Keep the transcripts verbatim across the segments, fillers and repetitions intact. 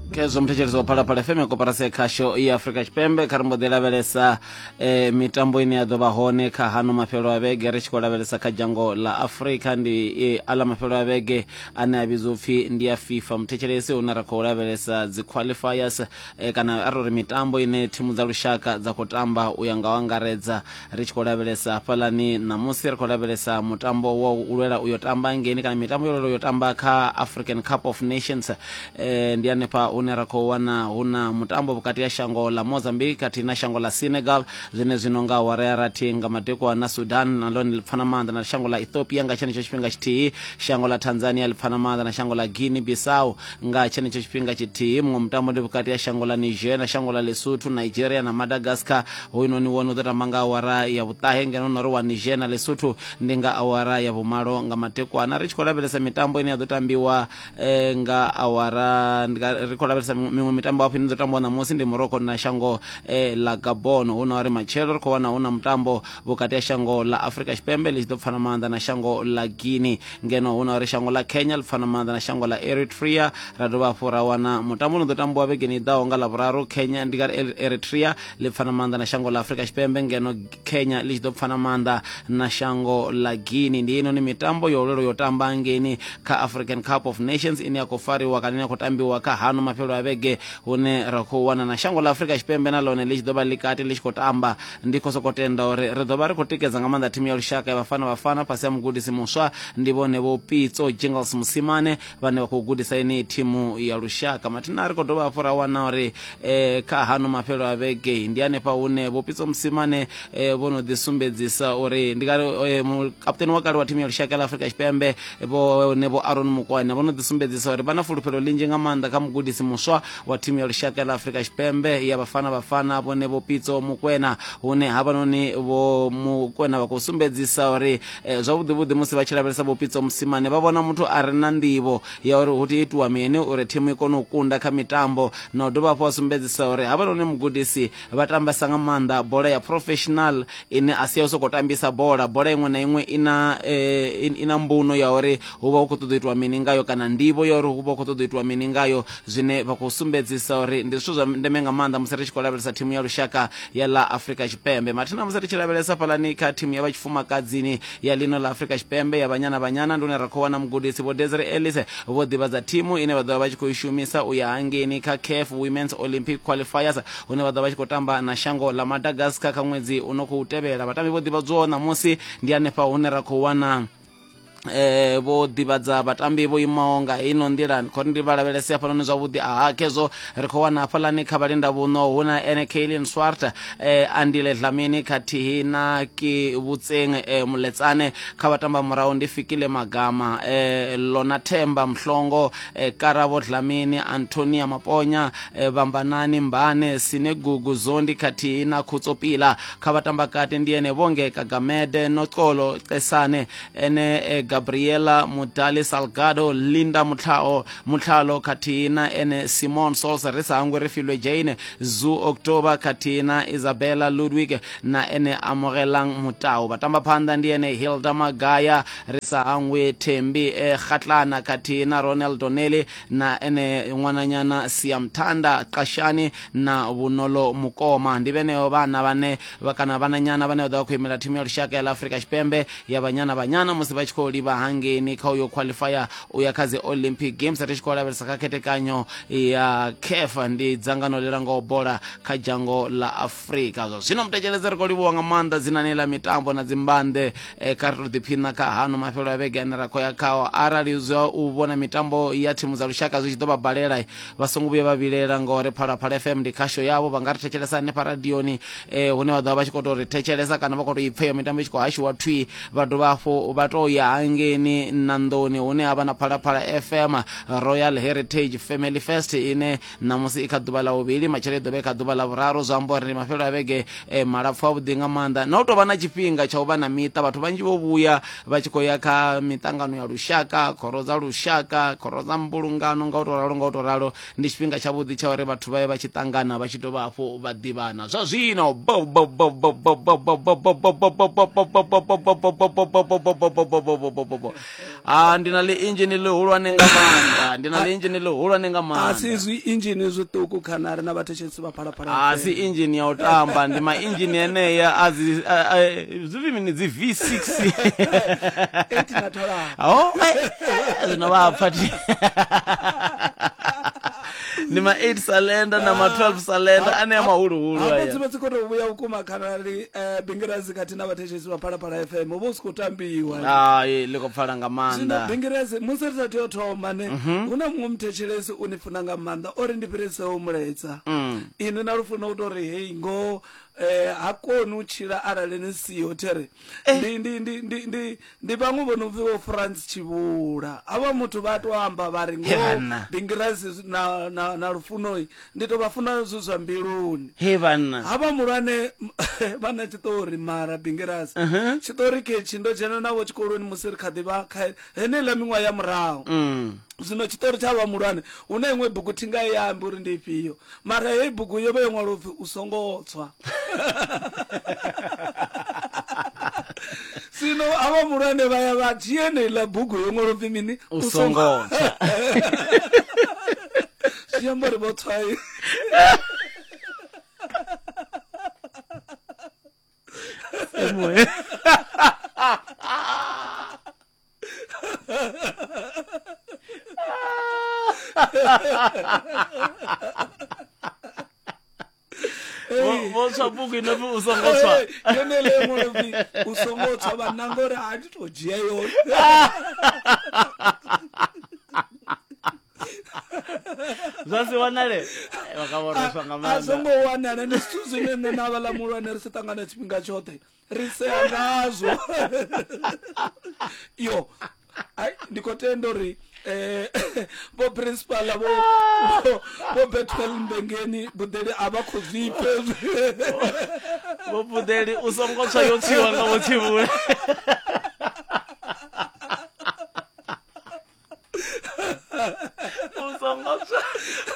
Khezwo muthetshelesi wa Phalaphala F M, koporasi ya khasho ya Afrika Tshipembe. Kha ri mbo ḓi lavhelesa eh, mitambo ine ya ḓo vha hone kha hano mafhelo a vhege, ri tshi khou lavhelesa kha dzhango ḽa Afrika. Ndi eh, aḽa mafhelo a vhege ane a vhidzwa upfhi ndi ya FIFA, muthetshelesi, hune ra khou lavhelesa dzi qualifiers eh, kana a ri mitambo ine thimu dza lushaka dza khou tamba u ya nga u angaredza. Ri tshi khou lavhelesa hafhaḽani ṋamusi, ri khou lavhelesa mutambo wa u lwela uyo tamba ngeni, kana mitambo yo lwela uyo tamba kha African Cup of Nations. eh, ndi hanefha hune ra khou wana hu na mutambo vhukati ha shango ḽa Mozambique khathihi na shango ḽa Senegal zwine zwino nga awara ya rathi nga madekwana. Sudan na ḽone ḽi pfana maanḓa na shango ḽa Ethiopia nga tshenetsho tshifhinga tshithihi. Shango ḽa Tanzania ḽi pfana maanḓa na shango ḽa Guinea Bissau nga tshenetsho tshifhinga tshithihi. Muṅwe mutambo ndi vhukati ha shango ḽa Niger na shango ḽa Lesotho, Nigeria na Madagascar. Hoyunoni wone u ḓo tamba nga awara ya vhuṱahe, ngeno na uri wa Niger na Lesotho ndi nga awara ya vhumalo nga madekwana. Ri tshi khou lavhelesa mitambo ine ya ḓo tambiwa eh, nga awara, ri khou lavhelesa miṅwe mitambo hafhu ine ḓo tambiwa ṋamusi, ndi Morocco na shango eh, ḽa Gabon. Hu na uri matshelo ri khou wana hu na mutambo vhukati ha shango ḽa Afrika Tshipembe ḽi tshi ḓo pfana maanḓa na shango ḽa Guinea, ngeno hu na uri shango ḽa Kenya ḽi pfana maanḓa na shango ḽa Eritrea. Ra dovha hafhu ra wana mutambo u no ḓo tambiwa vhegeni i ḓaho nga Ḽavhuraru, Kenya, ndi nga Eritrea ḽi pfana maanḓa na shango ḽa Afrika Tshipembe, ngeno Kenya ḽi tshi ḓo pfana maanḓa na shango ḽa Guinea. Ndi inoni mitambo yo lwela yo tamba ngeni kha African Cup of Nations ine ya khou fariwa kana ine ya khou tambiwa kha hano mafhelo a vhege, hune ra khou wana na shango ḽa Afrika Tshipembe na ḽone ḽi tshi ḓo vha ḽi kati ḽi tshi khou tamba. Ndi khou sokou tenda uri ri ḓo vha ri khou tikedza nga maanḓa thimu ya lushaka ya Bafana Bafana fhasi ha mugudisi muswa, ndi vhone Vho Pitso Jingles Mosimane vhane vha khou gudisa yeneyi thimu ya lushaka. Mathina ri khou dovha hafhu ra wana uri eh, kha hano mafhelo a vhege ndi hanefha hune Vho Pitso Mosimane eh, vho no ḓi sumbedzisa uri ndi kale eh, mukaputeni wa kale wa thimu ya lushaka la Afrika Tshipembe, vhone Vho Aaron Mokoena, vho no ḓi sumbedzisa uri vha na fulufhelo ḽinzhi nga maanḓa kha mugudisi muswa wa thimu ya lushaka la Afrika Tshipembe ya Bafana Bafana, vhone Vho Pitso Mokoena, hune havhanoni Vho Mokoena vha khou sumbedzisa uri eh, zwavhuḓi vhuḓi musi vha tshi lavhelesa Vho Pitso Mosimane vha vhona muthu a re na nḓivho ya uri hu tea itiwa mini uri thimu i kone u kunda kha mitambo, na u dovha hafhu vha sumbedzisa uri havhanoni mugudisi vha tambesa nga maanḓa bola ya professional ine a si ya u sokou tambisa bola. Bola iṅwe na iṅwe ina eh, ina mbuno ya uri hu vha hu khou ṱoḓa u itiwa mini ngayo, kana ndivho ya uri hu vha hu khou ṱoḓa u itiwa mini ngayo, zwine vha khou sumbedzisa uri ndi zwithu zwa ndeme nga maanḓa musi ri tshi khou lavhelesa thimu ya lushaka ya ḽa Afrika Tshipembe. Mathina musi ri tshi lavhelesa fhalani kha thimu ya vha tshifumakadzini ya ḽino ḽa Afrika Tshipembe ya Banyana Banyana, ndi hune ra khou wana mugudisi Vho Desiree Ellis vho ḓivhadza thimu ine vha ḓo vha vha tshi khou i shumisa u ya hangeini kha CAF Women's Olympic Qualifiers, hune vha ḓo vha tshi khou tamba na shango ḽa Madagascar kha ṅwedzi u no khou tevhela. Vhatambi vho ḓivhadzwaho ṋamusi ndi hanefha hune ra khou wana eh vho ḓivhadza vhatambi vho imaho nga ino nḓila. Khori ndi vha lavhelese hafhanoni zwavhuḓi. Aha, khezwo ri khou wana hafhaḽani kha vhalinda vhuno hu na ene Kaylin Swart, eh, Andile Dlamini khathihi na Ki Vhutseng eh, Muletsane. Kha vhatamba murahu ndi Fikile Magama, eh, Lona Themba Mhlongo, eh, Karabo Dlamini, Antonia Maponya, eh, Vhambanani Mbane, Sinegugu Zondi khathihi na Khutso Pila. Kha vhatamba kati ndi ene Vhonge Kagamede, Noxolo Cesane, ene eh, Gabriela Mudali Salgado, Linda Mutlao Mutlalo khathihi na ene Simon Sols. Ri sa hangwi ri filwe Jane Zu October khathihi na Isabella Ludwig na ene Amogelang Mutau. Vhatamba phanḓa ndi ene Hilda Magaya, ri sa hangwi Thembi eh, Khatlana khathihi na Ronald Donnelly na ene ṅwananyana Siamthanda Qashani na Vhunolo Mukoma. Ndi vheneo vhana vhane kana vhananyana vhane vha ḓo vha khou imela thimu ya lushaka ya ḽa Afrika Tshipembe ya Banyana Banyana musi vha tshi khou livha hangeini kha uyo qualifier u ya kha dzi Olympic Games. Ri tshi khou lavhelesa kha khethekanyo ya CAF, ndi dzangano ḽi langaho bola kha dzhango ḽa Afrika. Zwa zwino muthetshelese, ri khou livhuwa nga maanḓa dzinani ḽa mitambo na dzimbanḓe. eh, kha ri tou ḓiphina kha hano mafhelo a vhege ane ra khou ya khao. Arali zwa u vhona mitambo ya thimu dza lushaka zwi tshi ḓo vha balela, vha songo vhuya vha vhilela, ngori Phalaphala F M ndi khasho yavho. Vha nga ri thetshelesa hanefha radioni eh, hune vha ḓo vha vha tshi khou tou ri thetshelesa kana vha khou tou ipfa iyo mitambo i tshi khou hashiwa thwi. Vha dovha hafhu vha tou ya hangeini Nandoni hune ha vha na Phalaphala F M Royal Heritage Family Fest ine ṋamusi i kha ḓuvha ḽa vhuvhili, matshelo i ḓo vha i kha ḓuvha ḽa vhuraru. Zwi amba uri ndi mafhelo a vhege eh, malapfu avhuḓi nga maanḓa, na u tou vha na tshifhinga tsha u vha na miṱa. Vhathu vhanzhi vho vhuya vha tshi khou ya kha miṱangano ya lushaka, khoro dza lushaka, khoro dza mbulungano, nga u tou ralo nga u tou ralo. Ndi tshifhinga tshavhuḓi tsha uri vhathu vha ye vha tshi ṱangana, vha tshi dovha hafhu vha ḓivhana. Zwa zwino bo bo bo. Ah, ndi na ḽi inzhini ḽihulwane nga maanḓa, ndi na ḽi inzhini ḽihulwane nga A si maanḓa. zwi inzhini zwiṱuku khanari na vhathetshelesi vha Phalaphala A si F M. inzhini ya u tamba, ndi ma inzhini enea a dzi a- a- zwi pfi mini dzi V six. Eight na tholana. Oh, eh, eh, zwino vha pfa thi. Ndi ma eight cylinder na ma twelve cylinder anea mahuluhulu Hafho aya. dzi vha dzi khou tou vhuya vhukuma khanari eh, Bingirazi khathihi na vhathetshelesi vha Phalaphala F M hu vha hu si khou tambiwa. Hai, ḽi khou pfala nga Zwino maanḓa. Bingirazi musi ri sa tea u thoma ne hu na muṅwe muthetshelesi u ni funa nga maanḓa o ri ndi fhiriseho mulaedza. Inwi na lufuno u tou ri hei ngoho eh, ha koni u tshila arali ni siho there. Ndi ndi ndi ndi ndi ndi vhaṅwe vho no pfi vho France Tshivhula. Havha muthu vha to amba vha ri He ngoho vhanna. Bingirazi na na na lufuno ndi to vha funa zwithu zwa mbiluni. He vhanna. Havha muhulwane vha na tshiṱori mara Bingirazi. Tshiṱori khetshi ndo dzhena navho tshikoloni musi ri kha ḓi vha kha heneiḽa miṅwaha ya murahu. Mm. Zwino tshiṱori tsha vha muhulwane hu na iṅwe bugu thi nga i ambi uri ndi ifhio, mara heyi bugu yo vha yo ṅwalwa upfi u songo tswa. Zwino havha muhulwane vha ya vha dzhia heneiḽa bugu yo ṅwalwa upfi mini U songo tswa. Zwi amba uri vho tswa. Vho vho tswa bugu ino pfi u songo tswa. Yeneiḽa yo ṅwalwa upfi u songo tswa vha nanga uri a thi to dzhia yone. Zwa si wanale. Vha ka vho reswa nga A maanḓa. songo wanala ndi zwithu zwine nṋe na havhaḽa muhulwane ri si ṱangana tshifhinga tshoṱhe ri sea ngazwo. Yo ai ndi khou tenda uri eh vho principal vho vho- vho Bethuel Mbengeni Buḓeli a vha khou zwi pfa hezwi. Vho Buḓeli u songo tswa yo tswiwa nga vho Tshivhula. U songo tswa,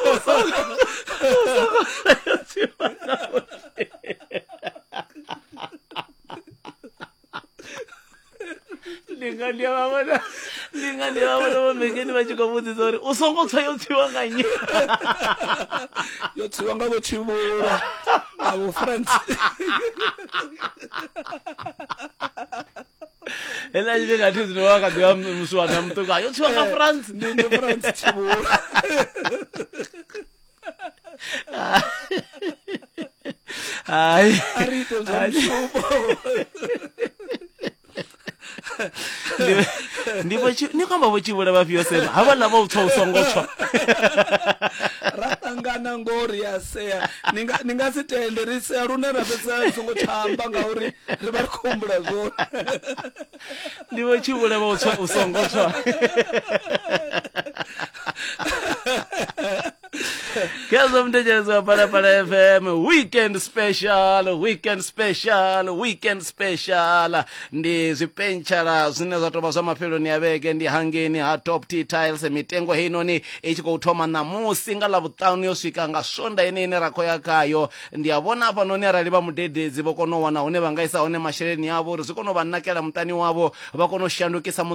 u songo, u songo tswa yo tswiwa nga vho Ndi nga ndi a vha vhona, ndi nga ndi a vha vhona vho Mbengeni vha tshi khou vhudzisa uri u songo tswa yo tswiwa nga nnyi. Yo tswiwa nga vho Tshivhula na vho France. Heiḽa tshifhinga thi zwino vha kha ḓi vha muswana muṱuku, yo tswiwa nga France. Ndi ndi France Tshivhula. Hai. A ri ite zwa mushumo. Ndi vho tshi ni khou amba vho Tshivhula vhafhio sema havhaḽa vho tswa u songo tswa. Ra ṱangana ngori ya sea ni nga ni nga si tende ri sea lune ra fhedza ri songo tsha amba ngauri ri vha ri khou humbula zwone. Ndi vho Tshivhula vho tswa u songo tswa. Khezwo muthetshelesi wa Phalaphala F M weekend special, weekend special, weekend special. Ndi zwipentshala zwine zwa tovha zwa mafheloni a vhege, ndi hangeni ha Top T Tiles. Mitengo heinoni i tshi khou thoma ṋamusi nga ḽavhuṱanu yo swika nga swonda ine ine ra khou ya khayo. Ndi a vhona hafhanoni arali vha mudededzi vho kona u wana hune vha nga isa hone masheleni avho uri zwi kone u vha nakela muṱani wavho, vha kone u shandukisa muṱa